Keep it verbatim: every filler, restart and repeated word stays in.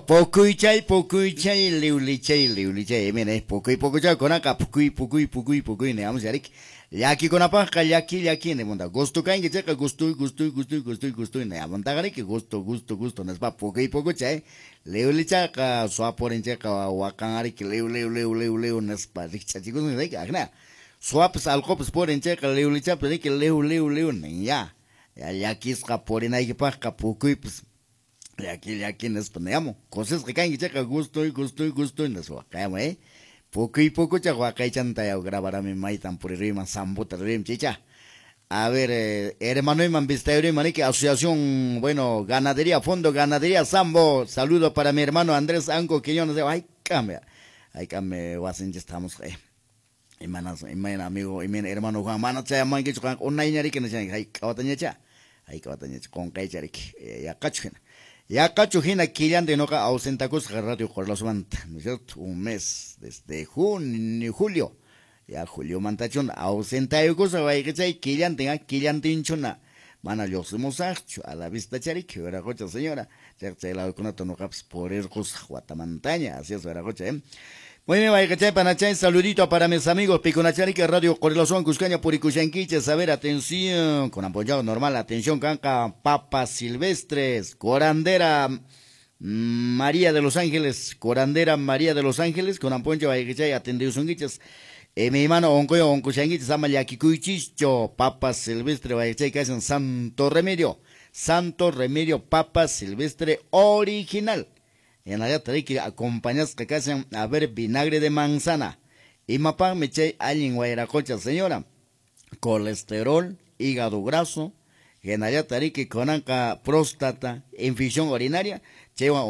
Pukuychay, pukuychay, liwlichay, liwlichay, mire, pukuy pukuchay, kunaqa pukuy, pukuy, pukuy, pukuy, niyamos yarik. Llakikunapaqqa llaki, llaki, nimunda. Gusto kanki chayqa gustuy, gustuy, gustuy, gustuy, gustuy, niyamuntaqa riki, gusto, gusto, gusto, nispa pukuy pukuchay. Liwlichayqa suwapurin chayqa waqan ariki, liw, liw, liw, liw, liw, nispa rikch'achikusun riki, akna. Suwapas alqupas purin chayqa liwlichapis riki, liw, liw, liw, nin ya. Ya llakisqa purinaykipaqqa pukuypis llaki llaki nispa niyamun. Kusisqa kanki chayqa gustuy, gustuy, gustuy nispa waqayamun, eh. Pukuy pukuchaq waqaychanta yaw grabarami maytan puriruyman Zambuta riruyman chaycha. A ver, eh, hermanoyman vistayuruyman riki asociación, bueno, ganadería, Fondo Ganadería Zambo. Saludo para mi hermano Andrés Anco Quiñones. Ay, cambia. Ay, cambia, wasinchis estamos, eh. Imanas, imayna amigo, imayna hermano Juan, mana chayamankichu qanqa unayña riki nishanki, hayk'a watañacha, hayk'a watañacha, qunqaycha riki, yaqachu hina. Yaqachu hina killanta nuqa ausentakusqa Radio Qorilasumanta, ¿no es cierto? Un mes, desde junio, julio, ya juliomantachuna, ausentayukusqa wayqichay killantin, ah, killantinchuna, mana lluqsimusaqchu, a la vista chariki, wiraqucha señora, chay chay ladokunata nuqapas purirqusaq watamantaña, así es, wiraqucha, eh. Muy bien, wayqichay, panachay, saludito para mis amigos Picunachariki, Radio Qorilasun, Cuscaña, Purikushanquiches, a ver, atención, con apoyado normal, atención, canca, papas silvestres, curandera María de los Ángeles, curandera María de los Ángeles, con apoyo, wayqichay, atendiusunquiches. Eh, mi hermano, oncoyo, oncushanquiches, ama llakikuychischo, papas silvestre, wayqichay, que hacen Santo Remedio, Santo Remedio, papas silvestre original. En la yata riki acompañasqa kashan, a ver, vinagre de manzana. Imapaqmi chay allin wayraqucha, señora. Colesterol, hígado graso, hinallataq riki kunanqa próstata, infección urinaria, chaywan